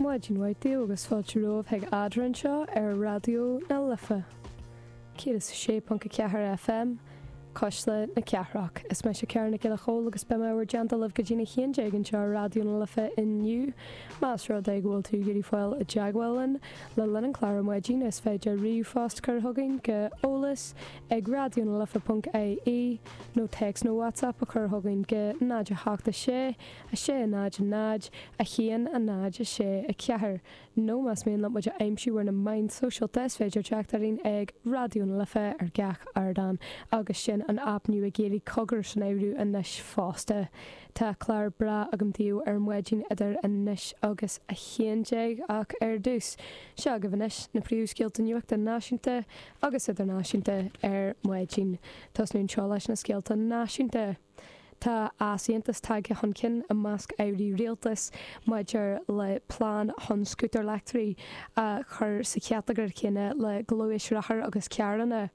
Maidin mhaith daoibh agus fáilte romhaibh chuig Eadra anseo ar Raidió na Life 106.4 FM, Cuisle na Cathrach. Is mise Ciara Nic Giolla Chóill agus beidh mé i bhur dteannta libh go dtí'n 11 anseo ar Raidió na Life inniu. Más rud é go bhfuil tú ag iarraidh fáil i dteagmháil linn le linn an chláir ar maidin is féidir ríomhphost a chur chugainn go eolas ag raidionalife.ie nó téacs nó WhatsApp a chur chugainn go 0 8 6 6 0 0 1 0 6 4 Nó más mian leat muid a aimsiú ar na meáin sóisialta is féidir teacht orainn ag Raidió na Life ar gach ardán agus sin an aip nua Gaeilge Cogar san áireamh anois fosta. Tá clár breá agam daoibh ar maidin idir anois agus 11 ach ar dtús, seo agaibh anois na príomhscéalta nuachta náisiúnta agus idirnáisiúnta ar maidin. Tosnú anseo leis na scéalta náisiúnta. Tá easaontas tagtha chun cinn i measc airí rialtais maidir le plean chun scútair leictrigh a chur sa chatagóir chéanna le gluaisrothair agus carranna.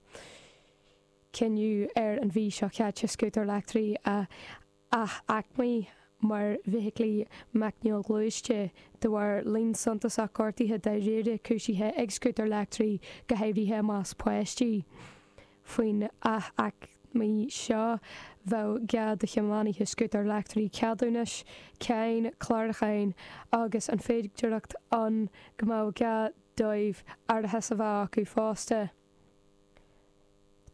Cinneadh ar an mhí seo caite scútair leictrigh a ath-aicmiú mar bhfeithiclí meicneoghluaiste de bharr líon suntasach gortuithe dáiríre cúisithe ag scútair leictrigh, go háirithe i measc páistí. Faoin ath-aicmiú seo, bheadh gá do thiománaithe scútair leictrigh ceadúnais, cáin, clárúcháin agus an féidearthacht ann go mbeadh gá dóibh árachas a bheith acu fosta.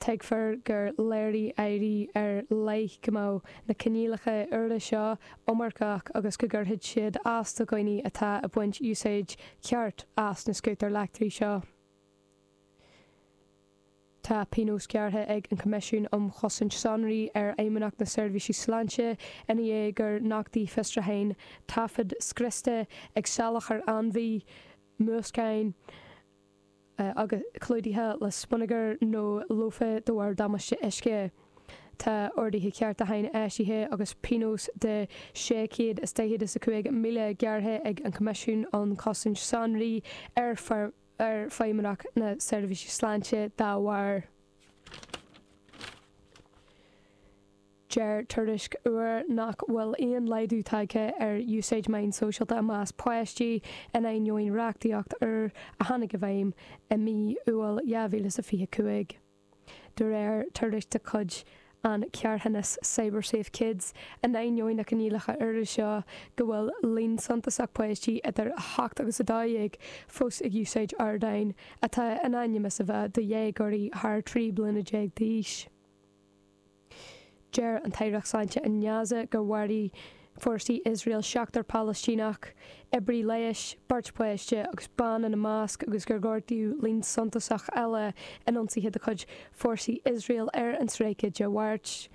Tuigtear gur léirigh airí ar leith go mbeadh na coinníollacha úra seo iomarcach agus go gcuirfeadh siad as do dhaoine atá ag baint úsáid cheart as na scútair leictrigh seo. Tá pionós gearrtha ag an Choimisiún um Chosaint Sonraí ar Fheidhmeannacht na Seirbhíse Sláinte ina dhiaidh gur nochtaigh fiosrúcháin taifid scriosta ag salachar ainmhí, múscáin agus clúdaithe le smionagar nó lofa de bharr damáiste uisce. Tá orduithe ceartúcháin eisithe agus pionós de €645,000 gearrtha ag an Choimisiún um Chosaint Sonraí ar ar Feidhmeannacht na Seirbhíse Sláinte dá bharr. Deir tuairisc úr nach bhfuil aon laghdú tagtha ar úsáid meán sóisialta i measc páistí in ainneoin reachtaíocht úr a tháinig i bhfeidhm i mí Iúil 2025. De réir tuairisc de chuid an charthanas CyberSafe Kids, in ainneoin na coinníollacha úra seo, go bhfuil líon suntasach páistí idir 8 agus 12 fós ag úsáid ardáin atá in ainm is a bheith do dhéagóirí thar 13 bliana d'aois. Deir an tAireacht Sláinte i nGaza gur mharaigh fórsaí Iosrael seachtar Palaistíneach, oibrí leighis, beirt pháiste agus bean ina measc agus gur gortaíodh líon suntasach eile in ionsaithe de chuid fórsaí Iosrael ar an stráice Dé Máirt.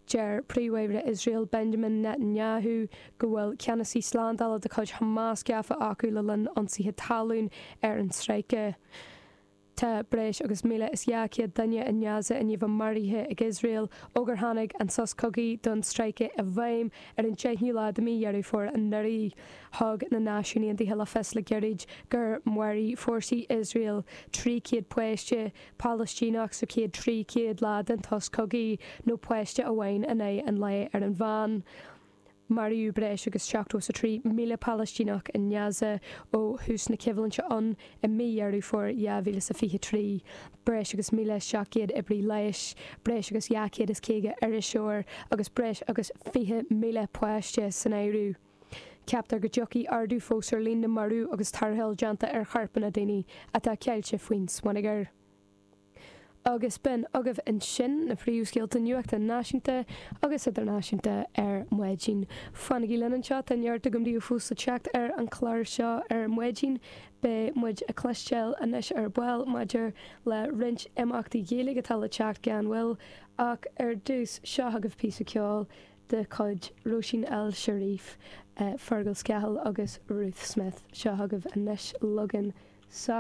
Deir Príomh-Aire Iosrael Benjamin Netanyahu go bhfuil ceannasaí slándála de chuid Hamas gafa acu le linn ionsaithe talún ar an stráice. Tá breis agus 1,200 duine i nGaza i ndiaidh bheith maraithe ag Iosrael ó gur tháinig an sos cogaidh don stráice i bhfeidhm ar an 10ú lá de mhí Dheireadh Fómhair anuraidh. Thug na Náisiúin Aontaithe le fios le gairid gur mharaigh fórsaí Iosrael 300 páiste Palaistíneach sa chéad 300 lá den tsos cogaidh, nó páiste amháin in aghaidh an lae ar an mheán. Maraíodh breis agus 73,000 Palaistíneach i nGaza ó thús na coimhlinte ann i mí Dheireadh Fómhair 2023, breis agus 1,700 oibrí leighis, breis agus 250 iriseoir agus breis agus 20,000 páiste san áireamh. Ceaptar go dtiocfaidh ardú fós ar líon na marbh agus tarrtháil déanta ar chorpanna daoine atá ceilte faoin smionagar. Agus b'in agaibh ansin na príomhscéalta nuachta náisiúnta agus idirnáisiúnta ar maidin. Fanaigí linn anseo, tá neart agam daoibh fós le teacht ar an chlár seo ar maidin. Beidh muid ag cloisteáil anois ar ball maidir le roinnt imeachtaí Gaeilge atá le teacht gan mhoill, ach ar dtús, seo agaibh píosa ceoil de chuid Róisín El Cherif, Fergal Scahill agus Ruth Smith. Seo agaibh anois Logan Soc.